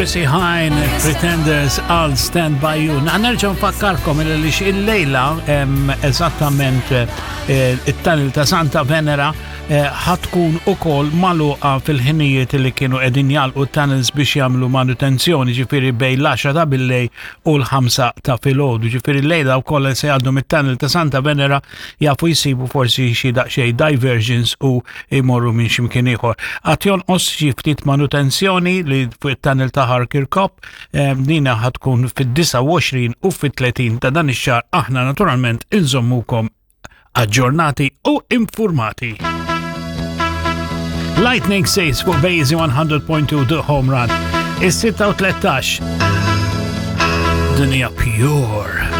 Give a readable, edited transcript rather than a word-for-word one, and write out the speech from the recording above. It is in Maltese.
Chrissy Hine, Pretenders, I'll Stand By You. Nerġa' nfakkarkom li il-lejla eżattament eh, it-tunnel ta' Santa Venera eh, ħatkun ukoll magħluqa fil-ħinijiet li kienu qegħdin jalqu tunnels biex jagħmlu manutenzjoni, ġifieri bejn l-10 ta' billej u l-5 ta' filgħodu. Ġifieri lejla wkoll se jgħaddu mit-tunnel ta' Santa Venera jafu jsibu forsi xi daqsxejn diversions u jmorru minn x'imkien ieħor. Għad jonqos xi ftit manutenzjoni li fuq it-tunnel ta' Harker Cop eh, dina ħatkun fid-29 u fit-30 ta' dan ix-xahar aħna naturalment inżommukom aġġornati u informati. Lightning Says fuq Bazy 100.2 The Home Run. Is-6 13. Dinja pure.